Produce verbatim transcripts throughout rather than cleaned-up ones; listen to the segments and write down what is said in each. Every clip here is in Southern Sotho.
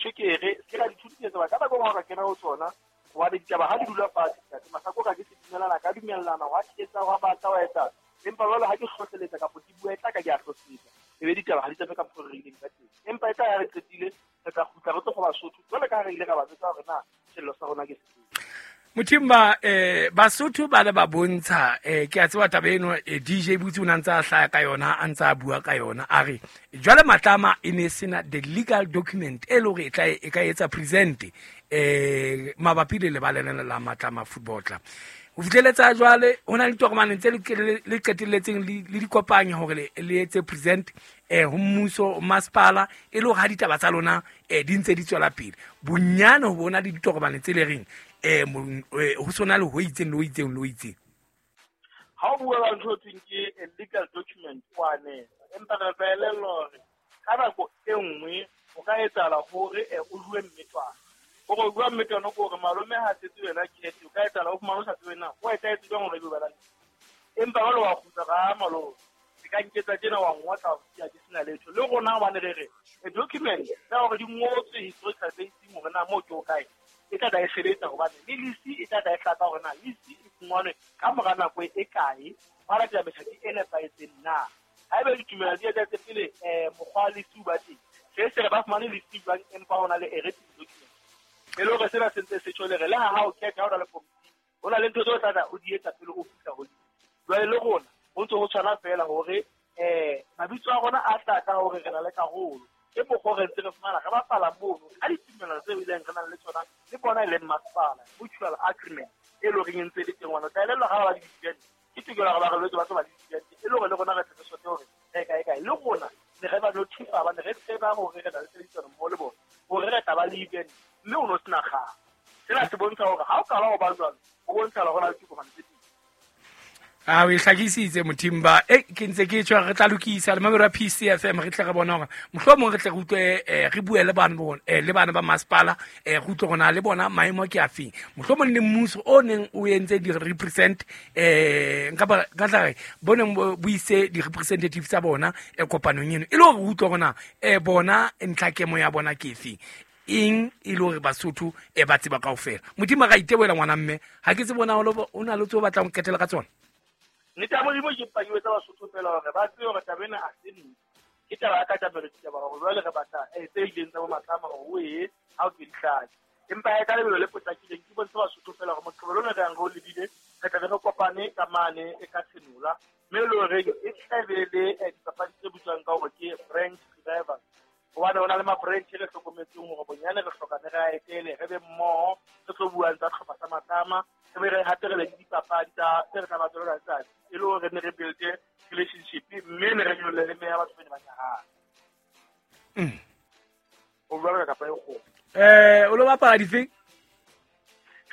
Tjhekere se ka dithuto tsa ka nako e nngwe ka kena ho tsona hobane ditaba ha di dula fatshe ntate Masako ka ke se dumellana ka dumellana wa etsa wa batla wa etsa empa jwale ha ke hlohleletsa kapa ke bua e tla ka ke a hlohleletsa ebe ditaba ha di tsamaye ka mokgwa re ileng ka teng empa e tla ya re qetile re tla kgutla re tlo go Basotho jwale ka ha re ile ra ba jwetsa hore na sello sa rona ke sefe. Mothimba eh Basotho ba le ba bontsha eh ke a tseba taba eno eh, D J Butsi o ne a ntse a hlaya ka yona a ntse a bua ka yona a re jwale Matlama e ne sena the legal document e le hore e tla e ka etsa present eh mabapi le lebala lena la Matlama Football Club. Ho fihleletsa jwale ho na le ditokomane tse le qetelletseng le di kopanya hore le le etse present eh ho mmuso masepala e le hore ha ditaba tsa lona eh di ntse di tswela pele bonyane ho bona le ditokomane tse le reng eh ho sona le ho itseng le ho itseng le ho itseng. Ha o bua ka ntho e thweng ke a legal document wa ne empa re tla elellwa hore ka nako e nngwe ho ka etsahala hore o bue mmetwana hore o bua mmetwana ke hore malome ha setse wena khethe o ka etsahala o fumane o sa tsebe na o etsahetse jwang hore ebe ba la empa jwale wa kgutla ka malome se ka nketsa tjena wa ngotla ke ke sena letho le rona hobane re re a document tsa hore di ngotswe historical basing hore na moo ke o kae e tla tla e sebetsa hobane le lisi e tla tla e hlaka hore na lisi e fumanwe ka mora nako e kae ba latela methati e nepahetseng na haeba ditumelo di etsahetse pele um mokgwa wa lisi o ba teng se se re ba fumane lisi jwang empa ho na le a written document e le hore sena se ntse se tjho le re le ha ha o khetha ha o na le komiti ho na le ntho tseo tla tla o di etsa pele o fihla ho lisi jwale le rona ho ntse ho tshwana feela hore um mabitso a rona a tla ka hore re na le karolo ke mokgwa re ntse re fumana re bapala mono ka ditumelo tseo ileng re nang le tsona le bona e leng masepala mutual agreement e le horeng e ntse e le teng ngwana o tla elellwa ha ba ba le di-event ke tokelo hore ba re lwetse ba tlo ba le di-event e le hore le rona re tle re sote hore re kae kae le rona ne re ba notify hobane re tseba hore re na le tshebedisano mmoho le bona hore re tla ba le event mme o no sena kgang. Sena se bontsha hore ha o qala ho ba jwalo ho bontsha hore ho na le ditokomane tse pedi. A o e hlakisitse Mothimba e ke ntse ke tjho re tla lokisa le mamelo ya P C F M re tle re bona hore mohlomong re tle re utlwe re bue le bana bona le bana ba masepala re utlwe rona le bona maemo ke afeng mohlomong le mmuso o neng o entse di represent eh nka ba ka tla re boneng bo ise di representative tsa bona e kopanong eno e le hore re utlwe rona eh bona ntlhakemo ya bona ke efeng eng e le hore Basotho e ba tseba kaofela. Modimo ra iteboela ngwana mme ha ke tse bona o na le tseo batlang ho qetela ka tsona. Nnete ya Modimo ke mpa ke jwetsa Basotho feela hore ba tsebe hore taba ena ha se nnete. Ke taba ya katamelo ditaba hore jwale re batla tse ileng tsa bo Matlama hore o ye ha o ke di hlake. Empa e ka lebelo le potlakileng ke bontshe Basotho feela hore moqebelo ona re yang re o lebile re tla be re kopane ka mane e ka Tshenola mme e le horeng e tla be le dipapadi tse bitswang ka hore ke branch revival hobane ho na le ma-branch re hlokometseng hore bonyane re hloka ne re a etele re be mmoho re tlo buang tsa tlhopha sa Matlama re be re hape re be le dipapadi tsa tse re tla ba tswela letsatsi e le hore ne re build-e relationship mme ne re nyolle le meya batho ba ne ba nyahana. O bua ka kapa e kgolo. Eh o lo bapala difeng?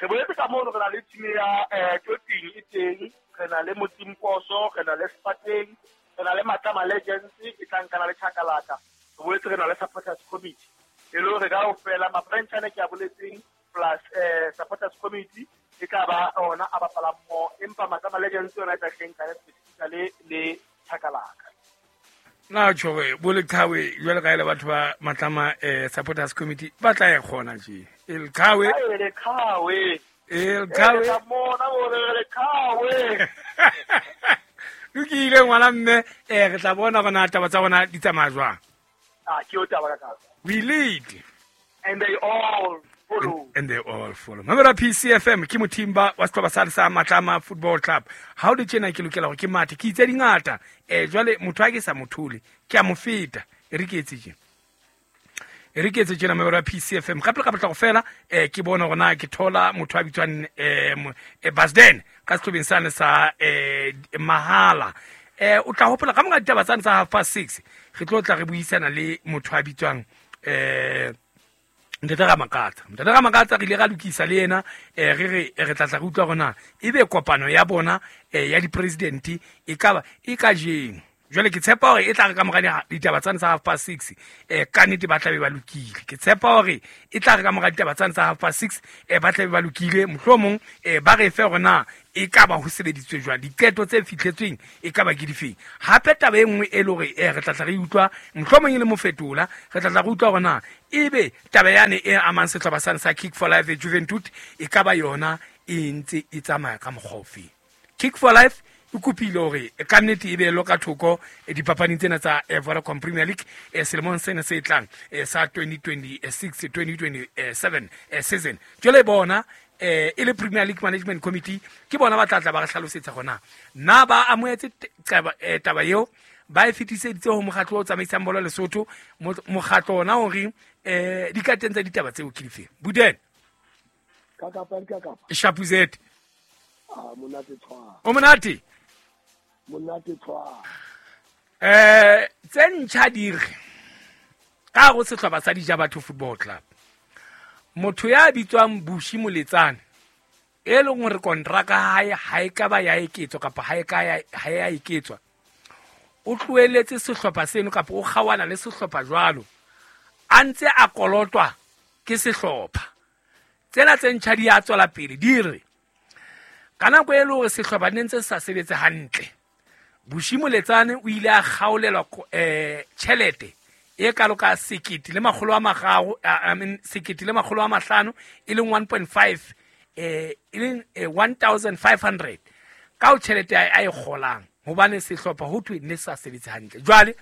Re boletse ka mono re na le team ya eh Toting e teng, re na le Motimposo, re na le Spartan, re na le Matlama Legends e tla nkana le Chakalaka. Re boletse re na le supporters committee. E le hore kaofela ma-branch ana ke a boletseng plus eh supporters committee e tla ba ona a bapalang mmoho empa Matlama Legends yona e tla hleng ka specifically le Chakalaka. Na tjho bo leqhawe jwale ka ile batho ba Matlama eh supporters committee ba tla e kgona tje. E leqhawe. E leqhawe. E leqhawe. E mona bo re leqhawe. Lokile ngwana mme eh re tla bona gona taba tsa bona di tsamaya jwang. Ah ke o taba ka ka. We lead and they all follow. And, and they all follow. Mamela P C F M ke Mothimba wa sehlopha sa sa Matlama Football Club. Ha o le tjena ke lokela hore ke mathe ke itse dingata. Eh jwale motho a ke sa mothole ke a mo feta. E re ke etse tjena. E re ke etse tjena mamela P C F M. Ka pele ka potla go fela eh ke bona hore na ke thola motho a bitswang eh Basden ka sehlobeng sane sa eh Mahala. Eh o tla hopola ka monga ditaba tsane tsa half past six re tlo tla re buisana le motho a bitswang eh Ntate Ramakatsa. Ntate Ramakatsa re ile ra lokisa le yena eh re re re tla tla re utlwa hore na ebe kopano ya bona eh ya di-president e ka ba e ka jeng. Jwale ke tshepa hore e tla re ka mora ditaba tsane tsa half past six eh ka nnete ba tla be ba lokile. Ke tshepa hore e tla re ka mora ditaba tsane tsa half past six eh ba tla be ba lokile mohlomong eh ba re fe hore na e ka ba ho sebeditswe jwang, diqeto tse fihletsweng e ka ba ke difeng. Hape taba e nngwe e le hore eh, re tla tla re utlwa mohlomong e le mofetola, re tla tla re utlwa hore na ebe taba yane e amang sehlopha sane sa Kick for Life Juventud e ka ba yona e ntse e tsamaya ka mokgwa ofe. Kick for Life e kopile hore ka nnete e behelwe ka thoko dipapading tsena tsa Vodacom Premier League selemong sena se tlang sa twenty twenty-six twenty twenty-seven season. Jwale bona e le Premier League Management Committee ke bona ba tla tla ba re hlalosetsa hore na ba amohetse taba eo, ba e fetiseditse ho mokgatlo o tsamaisang bolo Lesotho, mokgatlo ona o reng eh dikateng tsa ditaba tseo ke dife. Buden ka kapa ka kapa Shapuzet. Ah, monate tshwa. O monate? Monate tshwa. Eh, tse ntjha di re ka go sehlopha sa Dijabatho Football Club. Motho ya bitswang Bushi Moletsane e leng hore kontraka hae ha e ka ba ya eketswa kapa ha e ka ya ha ya eketswa, o tlohelletse sehlopha seno kapa o kgawana le sehlopha jwalo a ntse a kolotwa ke sehlopha. Tsena tse ntjha di a tswela pele di re ka nako e le hore sehlopha ne ntse sa sebetse hantle, Bushi Moletsane o ile a kgaolelwa eh tjhelete e kalo ka sekete le makgolo a mararo, I mean sekete le makgolo a mahlano e leng one point five eh e leng one thousand five hundred ka o tjhelete a e kgolang hobane sehlopha ho thwe ne sa sebetse hantle. Jwale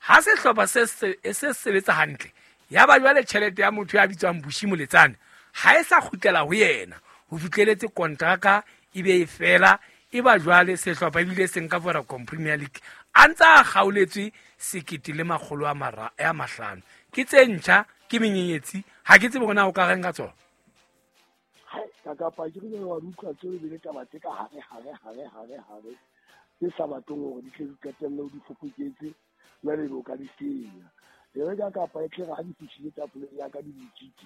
ha sehlopha se se sebetsa hantle ya ba jwale tjhelete ya motho ya bitswang Bushi Moletsane ha e sa kgutlela ho yena ho fihleletse kontraka e be e fela, e ba jwale sehlopha ebile se nka Vodacom Premier League a ntse a kgaoletswe sekete le makgolo a mara a mahlano. Ke tse ntjha, ke menyenyetsi, ha ke tsebe hore na o ka reng ka tsona. Ka kapa ke re wa utlwa tseo e bile taba tse ka hare hare hare hare hare tse sa batleng hore di tle di qetelle o di fofoketse jwale ebe o ka di senya. E re ka kapa e tle re ha di fihlile tafoleng ya ka di botsitse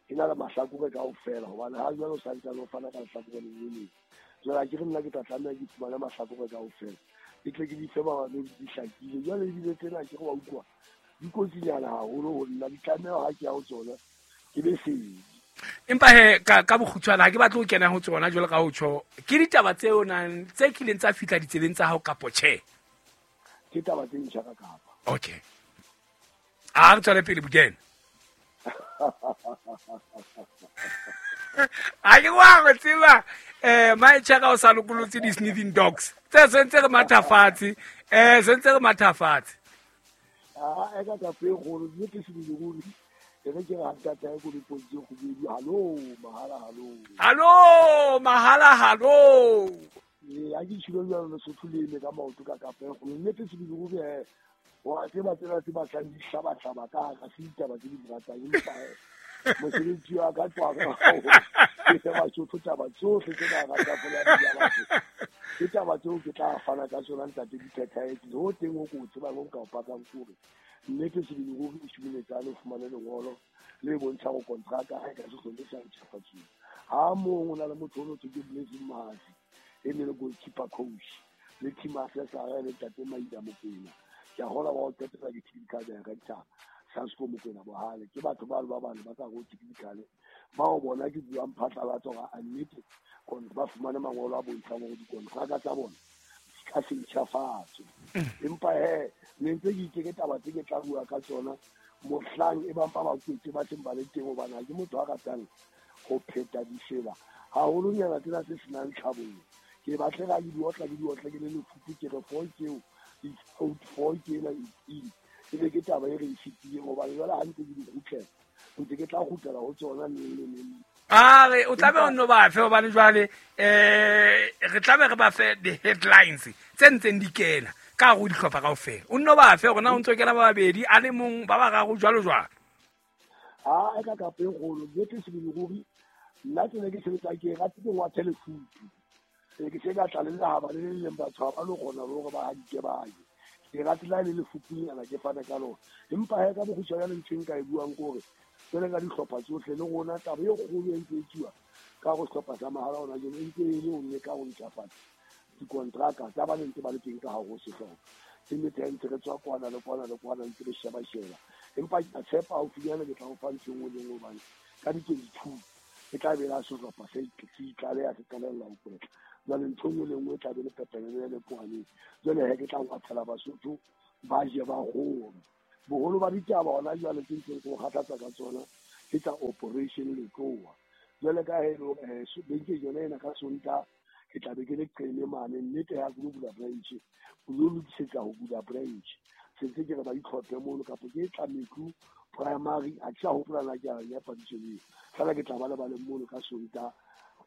e na le mahlakore kaofela hobane ha jwale o sa ntsane o fana ka lehlakore le le leng. Jwale ha ke re nna ke tla tlameha ke fumane mahlakore kaofela ke tle ke di fe bamamedi di hlakile. Jwale ebile tsena ke re wa utlwa di kotsinyana haholo ho nna, di tlameha ha ke ya ho tsona ke be sedi. Empa he ka ka bokgutshwane ha ke batle ho kena ho tsona jwalo ka ho tjho, ke ditaba tseo nang tse kileng tsa fihla ditsebeng tsa hao kapo tjhe? Ke taba tse ntjha ka kapa. Okay. A re tswele pele Buden. A ke wa go tseba eh maetjha ka o sa lokolotse di sniffing dogs tse sentse re mathafatse eh sentse re mathafatse. Ah, e ka ka pe golo mme ke se di e re ke re ntata e go dipontse go bedi hallo mahala hallo hallo mahala hallo e a ke tshilo jalo le Sotho le eme ka maoto ka kapa e golo mme ke se di gore wa tseba tsela tse batlang di hlabahlaba ka ga se ditaba tse di ratang empa mosebetsi wa ka tswa ka ke se Basotho taba tsohle tse ba rata fola ya batho ke taba tseo ke tla fana ka tsona ntate di phethahetse ho teng ho ko tsebang ho ka o pakang kore nnete se di gore o shimoletsane o fumane lengolo le bontsha go kontraka ha e ka se hlole sa ntjhafatsiwa. Ha mong o na le motho o no thwe ke Blessing Mahasi e ne le goalkeeper coach le team assessor le ntate Maida Mokwena ke a hola wa o qetela ke technical director Sasko Mokwena Bohale ke batho ba ba bane ba ka go technical bao bona ke buang phatlalatsa hore a nnete ba fumane mangolo a bontshang hore dikontraka tsa bona ka se ntjhafatswe. Empa he ne ntse ke itse ke taba tse ke tla bua ka tsona mohlang e bang ba ba kwetse ba teng ba le teng hobane ha ke motho a ratang ho pheta difela haholonyana tsena tse senang tlhabollo. Ke batle ga ke di otla ke di otla ke le lefupu ke re four keo it's out four ke ena it's in e be ke taba e re e fetileng hobane jwale ha ntse ke di kgutlela ntse ke tla kgutlela ho tsona neng le neng. A re o tlabe o nno ba fe hobane jwale eh re tlabe re ba fe the headlines tse ntseng di kena ka go dihlopha kaofela. O nno ba fe hore na o ntso kena ba babedi a le mong ba bararo jwalo jwalo. Ah, e ka kapa e kgolo nnete se di ruri nna ke ne ke sebetsa ke rate ke ngwathe lefutu e ke se ka tla le lehaba le le leng batho ha ba lo kgona le hore ba hadike ba ye ke rate la le lefutunyana ke fana ka lona. Empa he ka bokgutshwanyane ntho e nka e buang ke hore jwale ka dihlopha tsohle le rona taba e kgolo e ntse e tsuwa ka go sehlopha sa mahala hona jwale e ntse e le ho leka ho ntjhafatsa dikontraka tsa ba ntse ba le teng ka hare ho sehlopha. Ke nnete ha ntse re tswa kwana le kwana le kwana ntse re sheba-sheba empa ke a tshepa haufinyana ke tla o fa ntho e nngwe le nngwe hobane ka di-twenty-two e tla be la sehlopha se se itlaleha se qalella ho kwetla. Jwale ntho nngwe le nngwe e tlabe le pepenene le poaneng. Jwale he ke tla ngwathela Basotho ba je ba kgore. Boholo ba ditaba hona jwale tse ntseng ke kgathatsa ka tsona ke tsa Operation Letloa. Jwale ka he beke yona ena ka Sontaha ke tla be ke le qene mane nnete ya ke bula branch o lo lokisetsa ho bula branch sentse ke re ba itlhophe mono kapa ke tla metlu primary a ke sa hopola na ke a ya padiso eo fela ke tla ba le ba le mono ka Sontaha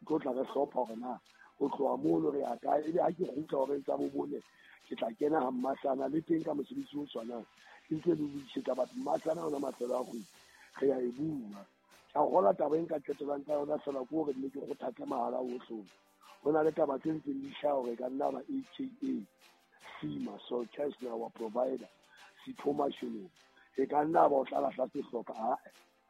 tlo tla re hlopha hore na o tloha mono re ya kae ebe ha ke kgutla hore tsa bobone ke tla kena ha Mmasana le teng ka mosebetsi o tshwanang ke ntse le lokisetsa batho Mmasana ona mafelo a kgwedi re ya e bua. Ka hola taba e nka qetellang ka yona fela ke hore mme ke kgothatse mahala ohle. Ho na le taba tse ntseng di hlaha hore ka nna ba A K A Sima so cash na wa provider Sipho Mashilo e ka nna ba o tla lahla sehlopha a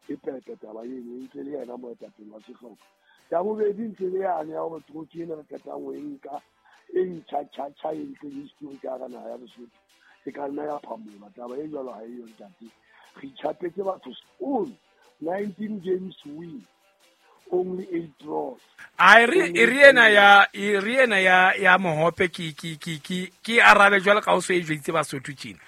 e pepe taba eno e ntse le yena moetapele wa sehlopha. Ya bobedi ntse le yane ya hore trophy ena re qetang ho e nka e ntjha tjha tjha e ntle history ka hara naha ya Lesotho e ka nna ya phamola taba e jwalo ha eyo ntate. Re itjhapetse batho all nineteen games win only eight draws. A re e ena ya e re ena ya ya Mohope ke ke ke ke ke arabe jwale ka o so e jwetse Basotho tjena.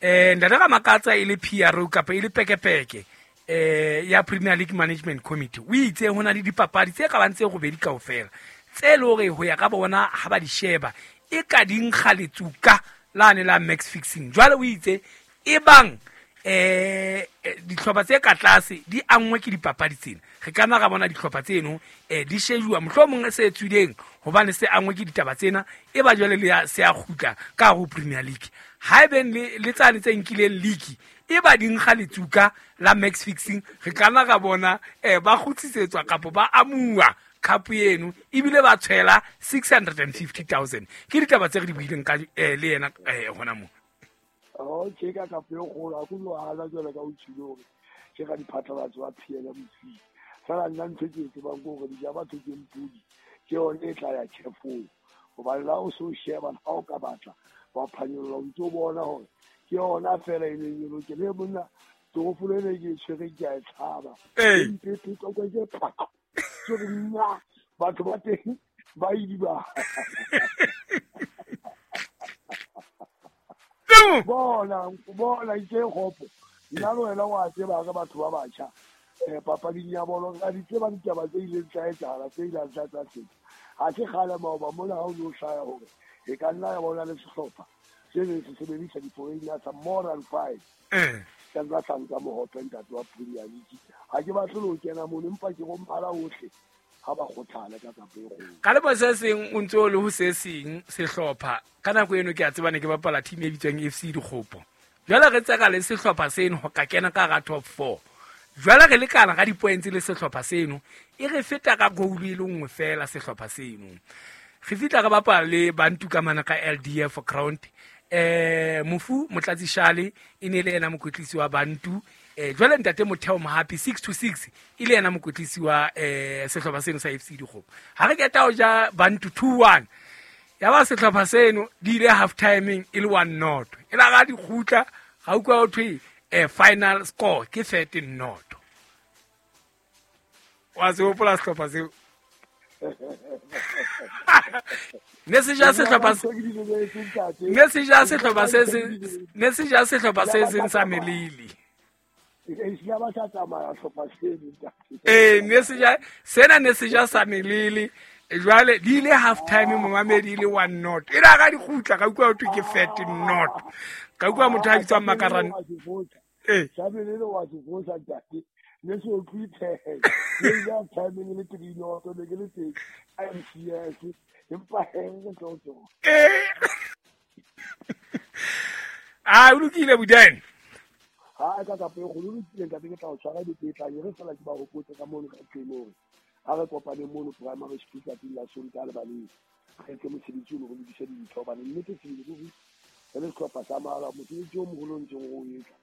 Eh ntate ka makatsa e le P R O kapa e le pekepeke eh ya Premier League Management Committee. O itse hona le dipapadi tse ka bang tse robedi kaofela tse le hore ho ya ka bona ha ba di sheba e ka di nkga letsuka lane la max fixing. Jwale o itse e bang eh dihlopha tse ka tlase di angwe ke dipapadi tsena re ka nna ra bona dihlopha tseno eh di shejuwa mohlomong se tswileng hobane se angwe ke ditaba tsena e ba jwale le se a kgutla ka ho Premier League ha ebe le le tsane tse nkileng league e ba di nkga letsuka la max fixing re ka nna ra bona eh ba kgutsisetswa kapa ba amuwa cup eno ebile ba tshwela six hundred fifty thousand ke ditaba tse re di buileng ka le yena hona mo. Oh, ke ka ka peo kgolo a kulo ala jwale ka o tshilo hore ke ka diphatlalatso wa P L M C. Fela nna ntho ke e tsebang ke hore di ja batho ke mpudi ke yone e tla ya chefong hobane la o so sheba ha o ka batla wa phanyolla o ntso bona hore ke yona fela e leng e lokele monna torofolo ene ke e tshwere ke a e tshaba ke phaka so nna batho ba teng ba idiba. Bona bona ke kgopo nna le wena wa tseba ka batho ba batjha eh papading ya bolo ka di tseba ditaba tse ileng tsa etsahala tse ileng tsa tsa tse ha se kgale maoba mona ha o no hlaya hore e ka nna ya bona le sehlopha se ne se sebedisa di-foreigner tsa more than five ka nna sa nka Mohope ntate wa Premier League. Ha ke batle ho kena mono empa ke go mphala ohle ha ba kgothale ka kapo e kgolo. Ka lebo se seng o ntse o le ho se seng sehlopha ka nako eno ke a tseba ne ke bapala team e bitswang F C Dikgopo. Jwale re tseka le sehlopha seno ho ka kena ka hara top four. Jwale re lekana ka di-points le sehlopha seno e re feta ka goal e le nngwe fela sehlopha seno. Re fihla re bapala le Bantu ka mana ka L D F ground. Eh Mofu Motlatsi Shale e ne le ena mokwetlisi wa Bantu. Eh jwale ntate Motheo Mohapi six to six e le ena mokwetlisi wa eh sehlopha seno sa F C Dikgopo. Ha re keta ho ja Bantu two one. Ya ba sehlopha seno di ile half timing e le one not. E la ga di kgutla ga utlwa ho thwe eh final score ke thirteen not. Wa se hopola sehlopha seo? Ne se ja sehlopha se ne se ja sehlopha se ne se ja sehlopha se seng sa melili. Eh ne se ja sena ne se ja sa melili jwale di ile half time momamedi ile one not. E la ga di kgutla ka utlwa ho thwe ke thirteen not. Ka utlwa motho a bitswang Makarane. Eh sa melili wa se fosa ntate. Ne se o tlwithe ne ja time le three not ne ke le teng M C S empa he ke tlo tlo. Eh ah o lokile Budene. Ha ka ka peo go lokile ntate ke tla o tshwara dipetla re fela ke ba hopotse ka mono ka tsenong. Ha re kopane mono primary school tsatsing la Sontaha le baleng. Re etse mosebetsi o re lokise dintho hobane nnete sebele ruri re le sehlopha sa mahala mosebetsi o moholo o ntseng o etsa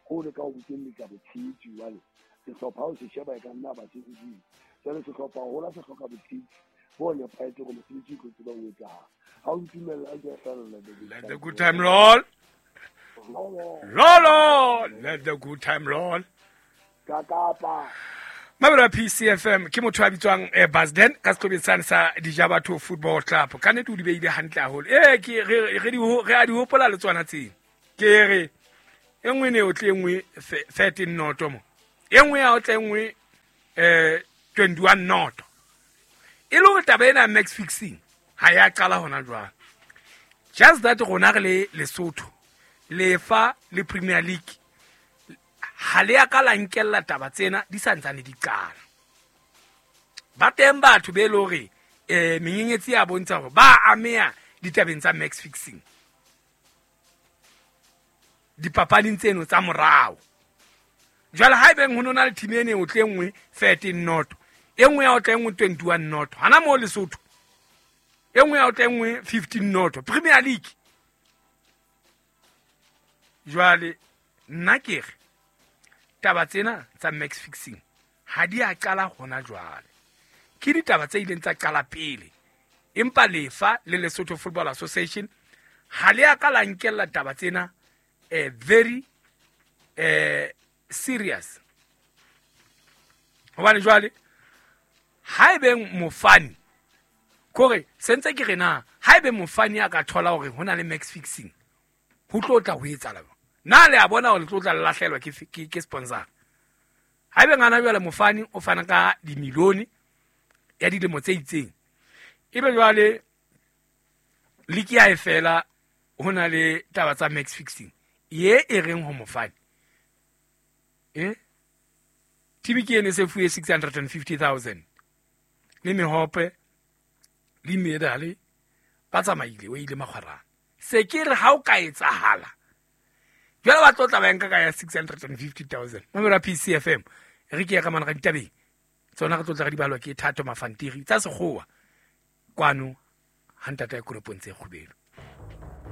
ko le ka o bokelletsa botshehetsi jwale sehlopha o se sheba e ka nna ba se hodimo. Jwale sehlopha hola se hloka botshehetsi bo nepahetse hore mosebetsi o tlo tseba o etsahala. Ha o ntumella ke a hlalolla. Let the good time roll. Roll on. Let the good time roll. Ka kapa. Mabelo a P C F M ke motho a bitswang eh, Basden ka sehlobeng sane sa Dijabatho Football Club. Ka nnete o di beile hantle haholo. Eh ke re re di re a di hopola le tsona tseo. Ke re e nngwe ne o tle e nngwe thirteen noto mo. E nngwe ya o tle e nngwe eh twenty-one noto. E le hore taba ena match fixing ha ya qala hona jwale. Just that rona re le Lesotho lefa le Premier League ha le ya ka la nkella taba tsena di santsane di qala. Ba teng batho be le hore eh menyenyetsi ya bontsha hore ba ameha ditabeng tsa match fixing. Dipapading tseno tsa morao. Jwale ha ebeng ho nona le team ene o tle nngwe thirteen noto, e nngwe ya o tle nngwe twenty-one noto. Hana mo Lesotho. E nngwe ya o tle nngwe fifteen noto. Premier League. Jwale nna ke re taba tsena tsa match fixing ha di a qala hona jwale. Ke ditaba tse ileng tsa qala pele. Empa lefa le Lesotho Football Association ha le a ka la nkella taba tsena eh very eh serious. Hobane jwale ha ebe mofani kore sentse ke re na ha ebe mofani a ka thola hore hona le match fixing ho tlo tla ho etsahala. Na le a bona hore le tlo tla lahlelwa ke ke ke sponsor. Ha ebe ngwana jwale mofani o fana ka dimilione ya dilemo tse itseng. Ebe jwale league ya e fela hona le taba tsa match fixing. Ye e reng ho mofani. Eh? T B ke ene se fuwe six hundred fifty thousand. Le mehope le medale ba tsamaile o ile makgwarana. Se ke re ha o ka etsahala. Jwale ba tlo tla ba nka ka ya six hundred fifty thousand. Mamela P C F M re ke ya ka mana ga ditabeng. Tsona re tlo tla re di balwa ke Thato Mafantiri tsa sekgowa kwano ha ntata ya koropong tse kgubelo.